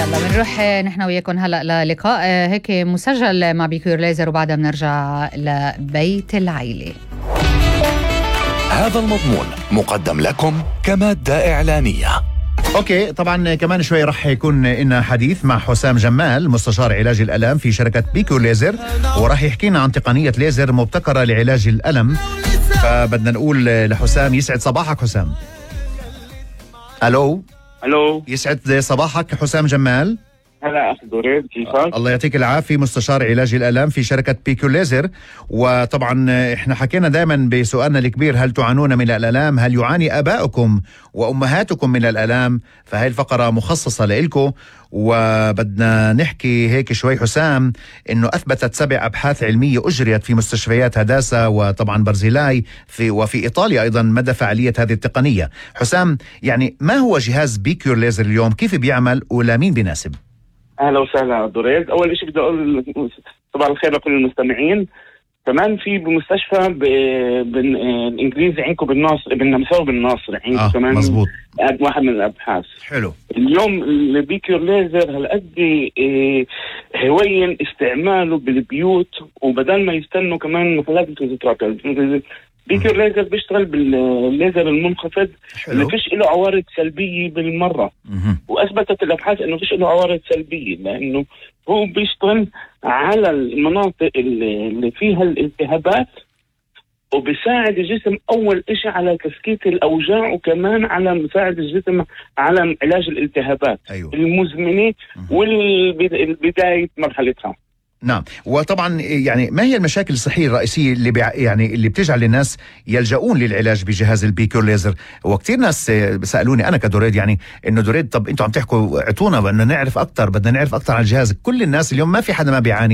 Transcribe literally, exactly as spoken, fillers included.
يلا بنروح نحن وياكم هلا للقاء هيك مسجل مع بيكور ليزر، وبعدها بنرجع لبيت العيلة. هذا المضمون مقدم لكم كمادة إعلانية. اوكي، طبعا كمان شوي رح يكون لنا حديث مع حسام جمال مستشار علاج الألم في شركة بيكور ليزر، وراح يحكينا عن تقنية ليزر مبتكرة لعلاج الألم. فبدنا نقول لحسام يسعد صباحك حسام. الو الو، يسعد صباحك حسام جمال. هلا اخ دريد، كيفك؟ الله يعطيك العافية، مستشار علاج الألم في شركة بيكور ليزر. وطبعا احنا حكينا دائما بسؤالنا الكبير، هل تعانون من الألام؟ هل يعاني آبائكم وأمهاتكم من الألام؟ فهي الفقرة مخصصة لإلكم. وبدنا نحكي هيك شوي حسام، انه اثبتت سبع ابحاث علمية اجريت في مستشفيات هداسة وطبعا برزيلاي في وفي ايطاليا ايضا مدى فعالية هذه التقنية. حسام، يعني ما هو جهاز بيكور ليزر اليوم؟ كيف بيعمل ولمين بيناسب؟ اهلا وسهلا دريد. اول شيء بدي اقول صباح الخير لكل المستمعين. كمان في بمستشفى بالانجليزي عندكم بالناصر، بالنمساوي بالناصر عندكم آه كمان مزبوط. واحد من الابحاث. حلو. اليوم البيكور ليزر هالقد إيه هوين استعماله بالبيوت، وبدل ما يستنوا كمان محلات الفيزيوثيرابي. بيكور ليزر بيشتغل بالليزر المنخفض اللي فيش له عوارض سلبية بالمرة. مه. واثبتت الابحاث انه فيش له عوارض سلبية، لانه هو بيشتغل على المناطق اللي فيها الالتهابات، وبيساعد الجسم اول اشي على تسكيت الاوجاع، وكمان على مساعد الجسم على علاج الالتهابات أيوه. المزمنة والبداية مرحلتها. نعم. وطبعا يعني ما هي المشاكل الصحية الرئيسية اللي بيع يعني اللي بتجعل الناس يلجؤون للعلاج بجهاز البيكور ليزر؟ وكتير ناس سألوني أنا كدوريد، يعني إنه دوريد طب أنتوا عم تحكوا اعطونا بدنا نعرف أكتر، بدنا نعرف أكتر عن الجهاز. كل الناس اليوم ما في حدا ما بيعاني